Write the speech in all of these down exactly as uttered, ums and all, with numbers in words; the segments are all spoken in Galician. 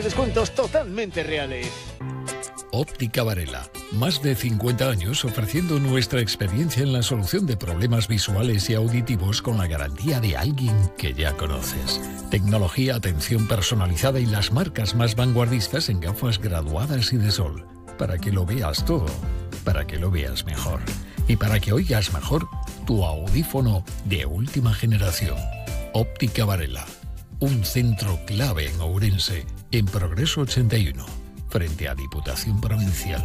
Descuentos totalmente reales. Óptica Varela. Más de cincuenta años ofreciendo nuestra experiencia en la solución de problemas visuales y auditivos con la garantía de alguien que ya conoces. Tecnología, atención personalizada y las marcas más vanguardistas en gafas graduadas y de sol. Para que lo veas todo, para que lo veas mejor. Y para que oigas mejor tu audífono de última generación. Óptica Varela. Un centro clave en Ourense, en Progreso ochenta y uno, frente a Diputación Provincial.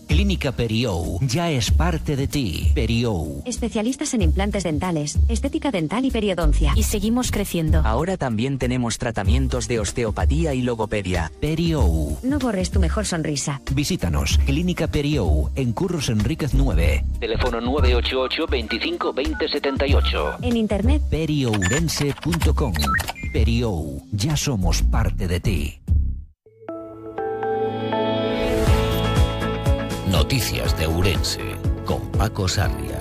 Clínica Periou ya es parte de ti. Periou. Especialistas en implantes dentales, estética dental y periodoncia. Y seguimos creciendo. Ahora también tenemos tratamientos de osteopatía y logopedia. Periou. No borres tu mejor sonrisa. Visítanos. Clínica Periou, en Curros Enríquez nueve. Teléfono nueve ocho ocho, veinticinco, veinte, setenta y ocho. En internet periourense punto com. Periou. Ya somos parte de ti. Noticias de Ourense, con Paco Sarria.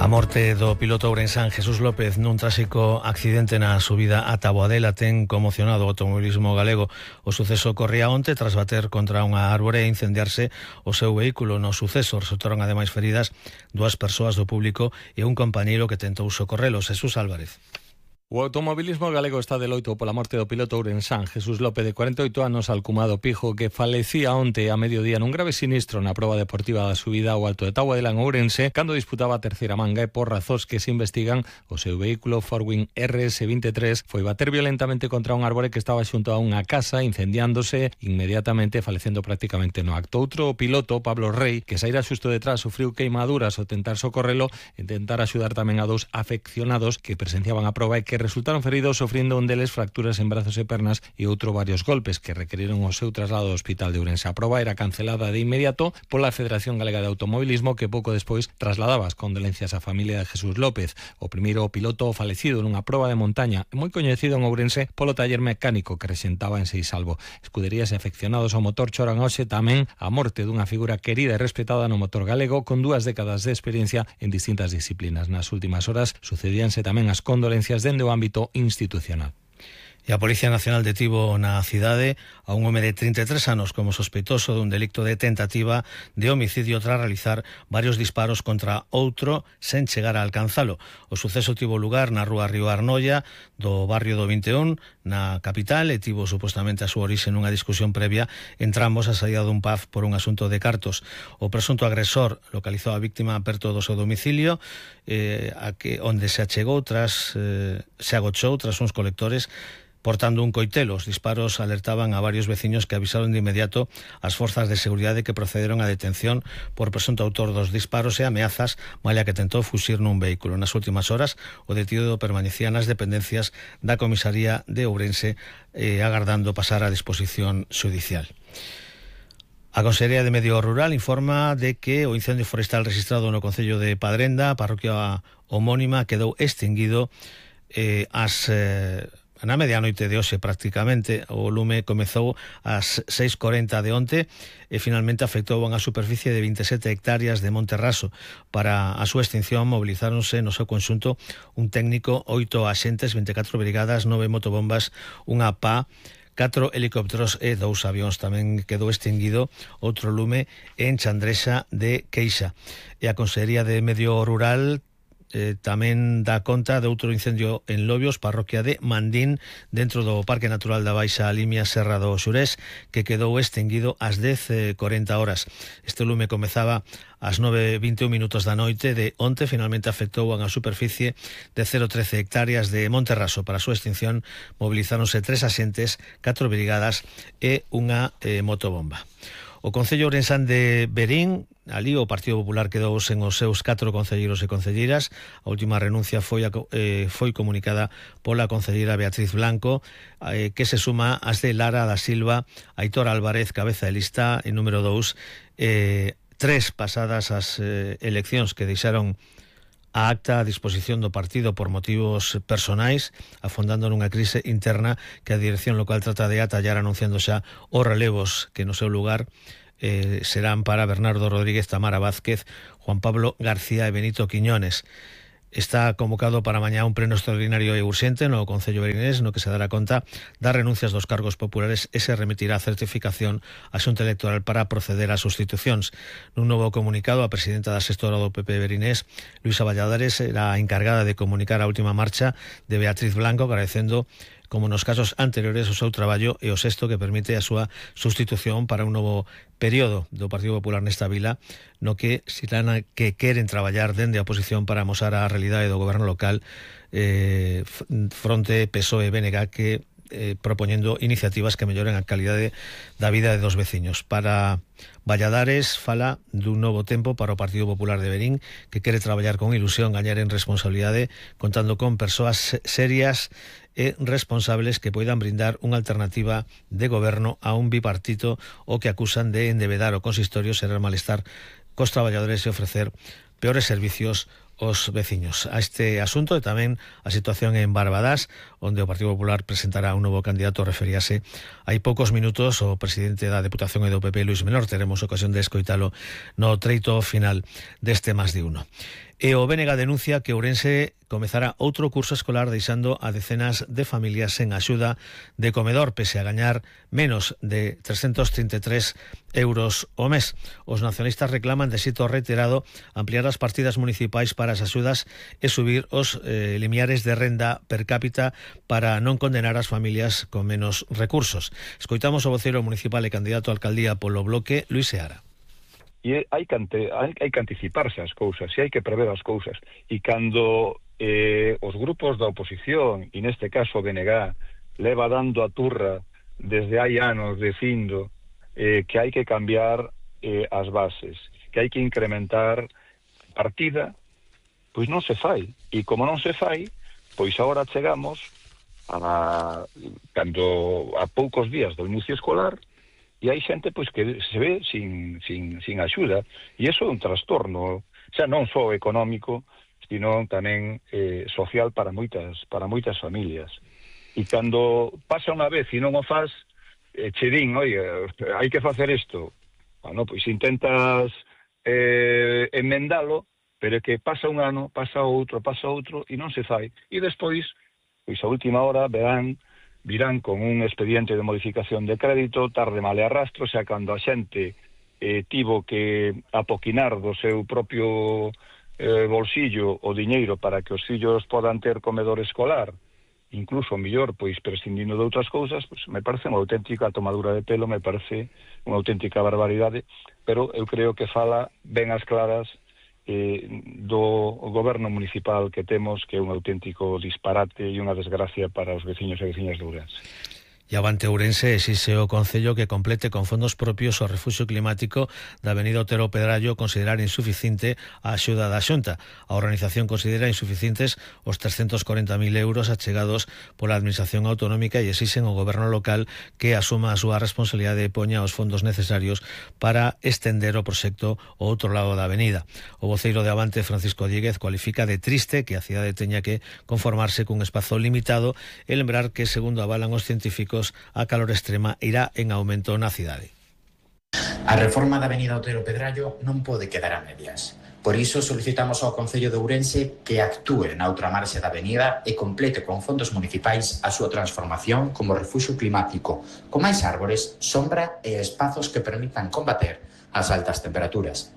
A morte do piloto ourensán Jesús López nun tráxico accidente na subida a Taboadela ten conmocionado o automobilismo galego. O suceso corría onte tras bater contra unha árbore e incendiarse o seu vehículo. No suceso resultaron ademais feridas dúas persoas do público e un compañeiro que tentou socorrelos. Jesús Álvarez. O automobilismo galego está de loito pola morte do piloto ourensán Jesús López, de cuarenta e oito anos, alcumado Pijo, que falecía onte a mediodía nun grave sinistro na proba deportiva da subida ao Alto de Taboadela en Ourense, cando disputaba a terceira manga e por razóns que se investigan, o seu vehículo Forwing R S veintitrés foi bater violentamente contra un árbore que estaba xunto a unha casa, incendiándose inmediatamente, falecendo prácticamente no acto. Outro piloto, Pablo Rey, que saíra xusto detrás, sufriu queimaduras ao tentar socorrelo e tentar axudar tamén a dous afeccionados que presenciaban a proba e que resultaron feridos, sofriendo un deles fracturas en brazos e pernas e outro varios golpes que requeriron o seu traslado ao hospital de Ourense. A proba era cancelada de inmediato pola Federación Galega de Automobilismo, que pouco despois trasladaba as condolencias á familia de Jesús López, o primeiro piloto falecido nunha proba de montaña moi coñecido en Ourense polo taller mecánico que rexentaba en Seisalvo. Escuderías e afeccionados ao motor choran hoxe tamén a morte dunha figura querida e respetada no motor galego con dúas décadas de experiencia en distintas disciplinas. Nas últimas horas sucedíanse tamén as condolencias dende o ámbito institucional. E a Policía Nacional detivo na cidade a un home de trinta e tres anos como sospeitoso dun delito de tentativa de homicidio tras realizar varios disparos contra outro sen chegar a alcanzalo. O suceso tivo lugar na rúa Río Arnoia do barrio do vinte e un, na capital, e tivo supostamente a súa orixe nunha discusión previa entre ambos a saída dun pub por un asunto de cartos. O presunto agresor localizou a víctima perto do seu domicilio, eh, a que onde se achegou tras eh, se agochou tras uns colectores portando un coitelo. Os disparos alertaban a varios veciños que avisaron de inmediato as forzas de seguridade que procederon á detención por presunto autor dos disparos e ameazas, malla que tentou fuxir nun vehículo. Nas últimas horas, o detido permanecía nas dependencias da comisaría de Ourense eh, agardando pasar a disposición xudicial. A Consellería de Medio Rural informa de que o incendio forestal registrado no concello de Padrenda, a parroquia homónima, quedou extinguido eh, as... Eh, na medianoite de hoxe prácticamente. O lume comezou ás seis e corenta de onte e finalmente afectou a unha superficie de vinte e sete hectáreas de Monte Raso. Para a súa extinción mobilizáronse no seu conxunto un técnico, oito axentes, vinte e catro brigadas, nove motobombas, unha pá, catro helicópteros e dous avións. Tamén quedou extinguido outro lume en Chandrexa de Queixa. E a Consellería de Medio Rural Eh, tamén dá conta de outro incendio en Lobios, parroquia de Mandín, dentro do Parque Natural da Baixa Limia Serra do Xurés, que quedou extinguido ás dez e corenta horas. Este lume comezaba ás nove e vinte e un minutos da noite de onte, finalmente afectou a unha superficie de cero vírgula trece hectáreas de Monte Raso. Para a súa extinción mobilizáronse tres axentes, catro brigadas e unha eh, motobomba. O Concello Ourensán de Verín, ali o Partido Popular quedou sen os seus catro concelleiros e concelleiras. A última renuncia foi, a, eh, foi comunicada pola concelleira Beatriz Blanco, eh, que se suma ás de Lara da Silva, Aitor Álvarez, cabeza de lista, e número dous, eh, tres pasadas as eh, eleccións que deixaron a acta a disposición do partido por motivos personais, afondando nunha crise interna que a dirección local trata de atallar, anunciando xa os relevos que no seu lugar eh, serán para Bernardo Rodríguez, Tamara Vázquez, Juan Pablo García e Benito Quiñones. Está convocado para mañá un pleno extraordinario e urxente no Concello Verinés, no que se dará conta das renuncias dos cargos populares e se remitirá a certificación á Xunta Electoral para proceder ás sustitucións. Nun novo comunicado, a presidenta da Sextora do P P Verinés, Luisa Valladares, era encargada de comunicar a última marcha de Beatriz Blanco, agradecendo, como nos casos anteriores, o seu traballo e o sexto que permite a súa sustitución para un novo período do Partido Popular nesta vila, no que serán que queren traballar dende a oposición para amosar a realidade do goberno local eh, fronte P S O E B N G que eh, propoñendo iniciativas que melloren a calidade da vida dos veciños. Para Valladares fala dun novo tempo para o Partido Popular de Verín, que quere traballar con ilusión, gañar en responsabilidade, contando con persoas serias e responsables que poidan brindar unha alternativa de goberno a un bipartito o que acusan de endevedar o consistorio, ser malestar cos traballadores e ofrecer peores servicios os veciños. A este asunto e tamén a situación en Barbadas, onde o Partido Popular presentará un novo candidato, referíase hai poucos minutos o presidente da Deputación e do P P, Luis Menor. Teremos ocasión de escoitalo no treito final deste Más de Uno. E o B N G denuncia que Ourense comezará outro curso escolar deixando a decenas de familias sen axuda de comedor, pese a gañar menos de trescentos trinta e tres euros ao mes. Os nacionalistas reclaman de xeito reiterado ampliar as partidas municipais para as axudas e subir os eh, limiares de renda per cápita para non condenar as familias con menos recursos. Escoitamos o voceiro municipal e candidato a alcaldía polo Bloque, Luis Seara. E hai que, ante, hai, hai que anticiparse as cousas, e hai que prever as cousas. E cando eh, os grupos da oposición, e neste caso o B N G, leva dando a turra desde hai anos dicindo eh, que hai que cambiar eh, as bases, que hai que incrementar partida, pois non se fai. E como non se fai, pois agora chegamos a, cando, a poucos días do inicio escolar, e hai xente pois que se ve sin, sin, sin axuda, e iso é un trastorno, xa non só económico, sino tamén eh, social para moitas para moitas familias. E cando pasa unha vez e non o faz, eh, che din, oi, hai que facer isto. Bueno, pois intentas eh, enmendalo, pero é que pasa un ano, pasa outro, pasa outro, e non se fai. E despois, pois a última hora, verán virán con un expediente de modificación de crédito, tarde male arrastro, xa cando a xente eh, tivo que apoquinar do seu propio eh, bolsillo o diñeiro para que os fillos podan ter comedor escolar, incluso mellor, pois prescindindo de outras cousas, pois me parece unha auténtica tomadura de pelo, me parece unha auténtica barbaridade, pero eu creo que fala ben as claras Eh, do goberno municipal que temos, que é un auténtico disparate e unha desgracia para os veciños e veciñas de Ourense. E avante Ourense exixe o Concello que complete con fondos propios o refuxio climático da avenida Otero Pedrallo, considerar insuficiente a axuda da Xunta. A organización considera insuficientes os trescentos corenta mil euros achegados pola Administración Autonómica e exixen ao goberno local que asuma a súa responsabilidade e poña os fondos necesarios para estender o proxecto ao outro lado da avenida. O voceiro de Avante, Francisco Díguez, cualifica de triste que a cidade teña que conformarse cun espazo limitado e lembrar que, segundo avalan os científicos, a calor extrema irá en aumento na cidade. A reforma da avenida Otero Pedrallo non pode quedar a medias. Por iso solicitamos ao Concello de Ourense que actúe na outra marxe da avenida e complete con fondos municipais a súa transformación como refuxio climático, con máis árbores, sombra e espazos que permitan combater as altas temperaturas.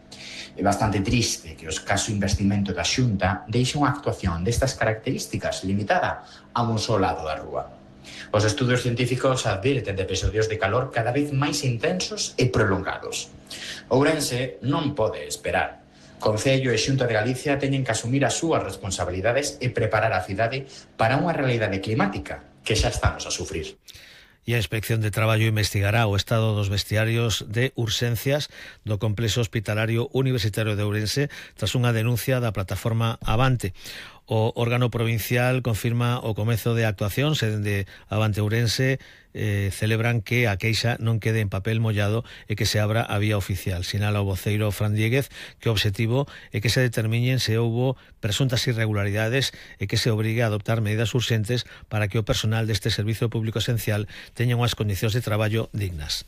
É bastante triste que o escaso investimento da Xunta deixe unha actuación destas características limitada a un só lado da rúa. Os estudos científicos advirten de episodios de calor cada vez máis intensos e prolongados. Ourense non pode esperar. Concello e Xunta de Galicia teñen que asumir as súas responsabilidades e preparar a cidade para unha realidade climática que xa estamos a sufrir. E a Inspección de Traballo investigará o estado dos vestiarios de urxencias do Complexo Hospitalario Universitario de Ourense tras unha denuncia da plataforma Avante. O órgano provincial confirma o comezo de actuacións e dende Avante Ourense eh, celebran que a queixa non quede en papel mollado e que se abra a vía oficial. Sinala o voceiro Fran Diéguez que o obxectivo é que se determinen se houbo presuntas irregularidades e que se obrigue a adoptar medidas urxentes para que o personal deste servizo público esencial teña unhas condicións de traballo dignas.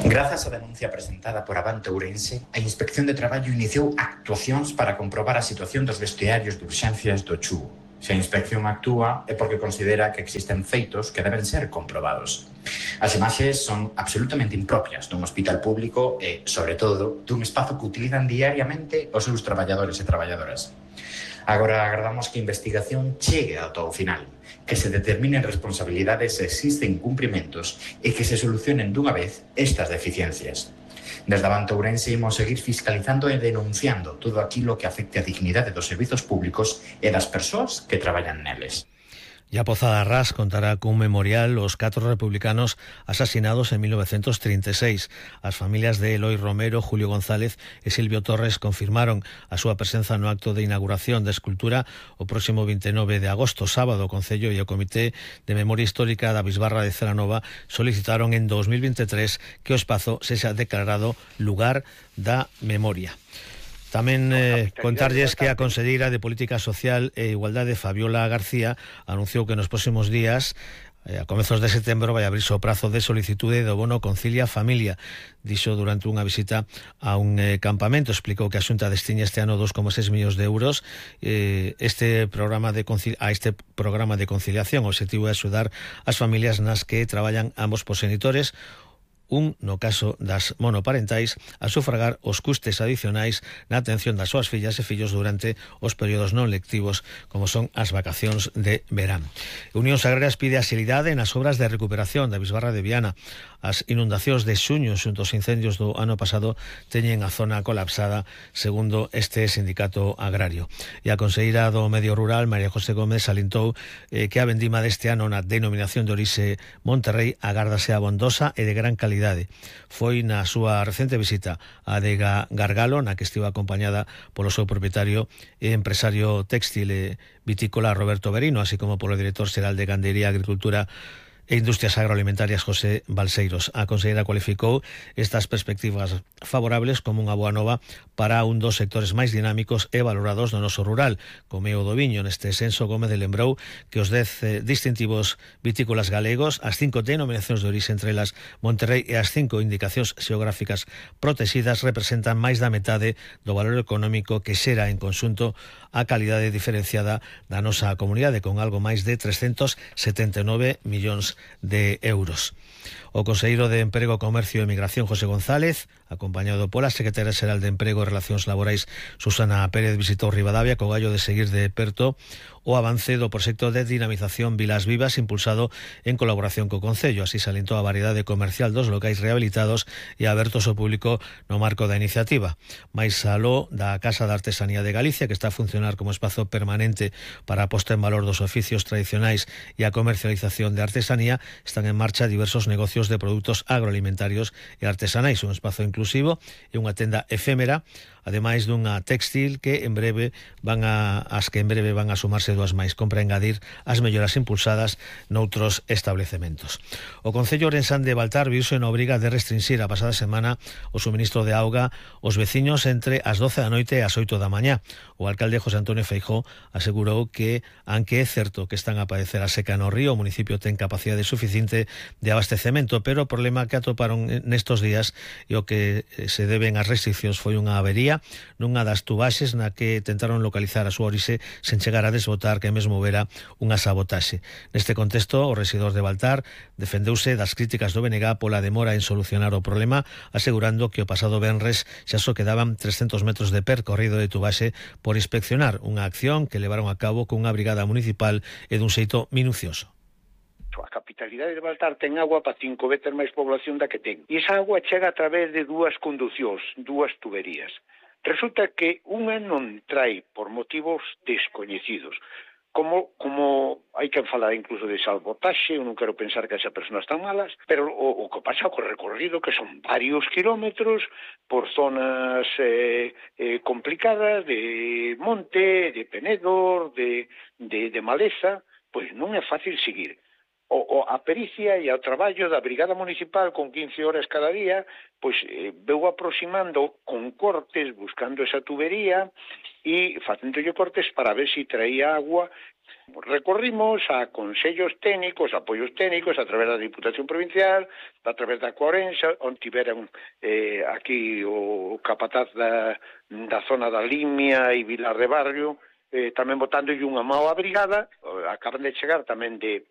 Grazas á denuncia presentada por Avante Ourense, a Inspección de Traballo iniciou actuacións para comprobar a situación dos vestiarios de urxencias do Chugo. Se a inspección actúa é porque considera que existen feitos que deben ser comprobados. As imaxes son absolutamente impropias dun hospital público e, sobre todo, dun espazo que utilizan diariamente os seus traballadores e traballadoras. Agora agardamos que a investigación chegue ata o final, que se determinen responsabilidades se existen incumprimentos e que se solucionen dunha vez estas deficiencias. Desde Avante Ourense imos seguir fiscalizando e denunciando todo aquilo que afecte a dignidade dos servizos públicos e das persoas que traballan neles. Ya Pozada Ras contará cun memorial aos catro republicanos asasinados en mil novecientos trinta e seis. As familias de Eloi Romero, Julio González e Silvio Torres confirmaron a súa presenza no acto de inauguración da escultura o próximo veintinueve de agosto, sábado. O Concello e o Comité de Memoria Histórica da Bisbarra de Celanova solicitaron en dos mil veintitrés que o espazo sexa declarado lugar da memoria. Tamén eh, contarlles que a Conselleira de Política Social e Igualdade, Fabiola García, anunciou que nos próximos días, eh, a comezos de setembro, vai abrirse o prazo de solicitude do bono Concilia Familia. Dixo durante unha visita a un eh, campamento, explicou que a Xunta destiña este ano dos coma seis millóns de euros eh, este programa de a este programa de conciliación. O objetivo é axudar as familias nas que traballan ambos proxenitores, un, no caso das monoparentais, a sufragar os custes adicionais na atención das súas fillas e fillos durante os períodos non lectivos, como son as vacacións de verán. Unión Agrarias pide axilidade nas obras de recuperación da Bisbarra de Viana. As inundacións de xuño xunto aos incendios do ano pasado teñen a zona colapsada, segundo este sindicato agrario. E a conselleira do Medio Rural, María José Gómez, salientou eh, que a vendima deste ano na denominación de orixe Monterrey agárdase abondosa e de gran calidade. Foi na súa recente visita a adega Gargalo, na que estivo acompañada polo seu propietario e empresario téxtil e vitícola Roberto Berino, así como polo director xeral de Gandería, Agricultura e Industrias Agroalimentarias, José Balseiros. A conselleira cualificou estas perspectivas favorables como unha boa nova para un dos sectores máis dinámicos e valorados do noso rural, como é o do viño. Neste senso, Gómez lembrou que os dez eh, distintivos vitícolas galegos, as cinco denominacións de orixe, entre elas Monterrey, e as cinco indicacións xeográficas protegidas representan máis da metade do valor económico que xera en conxunto a calidade diferenciada da nosa comunidade, con algo máis de trescentos setenta e nove millóns de euros. O conselleiro de Emprego, Comercio e Migración, José González, acompañado pola secretaria xeral de Emprego e Relacións Laborais, Susana Pérez, visitou Ribadavia co gallo de seguir de perto o avance do proxecto de dinamización Vilas Vivas, impulsado en colaboración co Concello. Así salientou a variedade comercial dos locais rehabilitados e abertos ao público no marco da iniciativa. Mais aló da Casa de Artesanía de Galicia, que está a funcionar como espazo permanente para a posta en valor dos oficios tradicionais e a comercialización de artesanía, están en marcha diversos negocios de produtos agroalimentarios e artesanais, un espazo inclusivo e unha tenda efémera, ademais dunha textil que en breve van a as que en breve van a sumarse dúas máis, compra engadir as melloras impulsadas noutros establecementos. O Concello ourensán de Baltar viuse na obriga de restringir a pasada semana o suministro de auga aos veciños entre as doce da noite e as oito da mañá. O alcalde José Antonio Feijóo asegurou que, aunque é certo que están a padecer a seca no río, o municipio ten capacidade suficiente de abastecemento, pero o problema que atoparon nestos días e o que se deben as restriccións foi unha avería nunha das tubaxes na que tentaron localizar a súa orixe sen chegar a desbotar, que mesmo houbera unha sabotaxe. Neste contexto, o rexedor de Baltar defendeuse das críticas do B N G pola demora en solucionar o problema, asegurando que o pasado venres xa só quedaban trescentos metros de percorrido de tubaxe por inspeccionar, unha acción que levaron a cabo cunha brigada municipal e dun xeito minucioso. A capitalidade de Baltar ten agua para cinco veces máis población da que ten. E esa agua chega a través de dúas conducións, dúas tuberías. Resulta que unha non trae por motivos descoñecidos. Como, como hai que falar incluso de sabotaxe, eu non quero pensar que esas persoas están malas, pero o, o que pasa co recorrido, que son varios kilómetros por zonas eh, eh, complicadas de monte, de penedor, de, de, de maleza, pois non é fácil seguir. o, o a pericia e o traballo da Brigada Municipal con quince horas cada día, pois eh, veu aproximando con cortes, buscando esa tubería e facéndolle cortes para ver se si traía agua. Recorrimos a consellos técnicos, apoios técnicos a través da Diputación Provincial, a través da Coarensa, onde tiveran eh, aquí o capataz da, da zona da Limia e Vilar de Barrio, eh, tamén botándolle unha mao á brigada. Acaban de chegar tamén de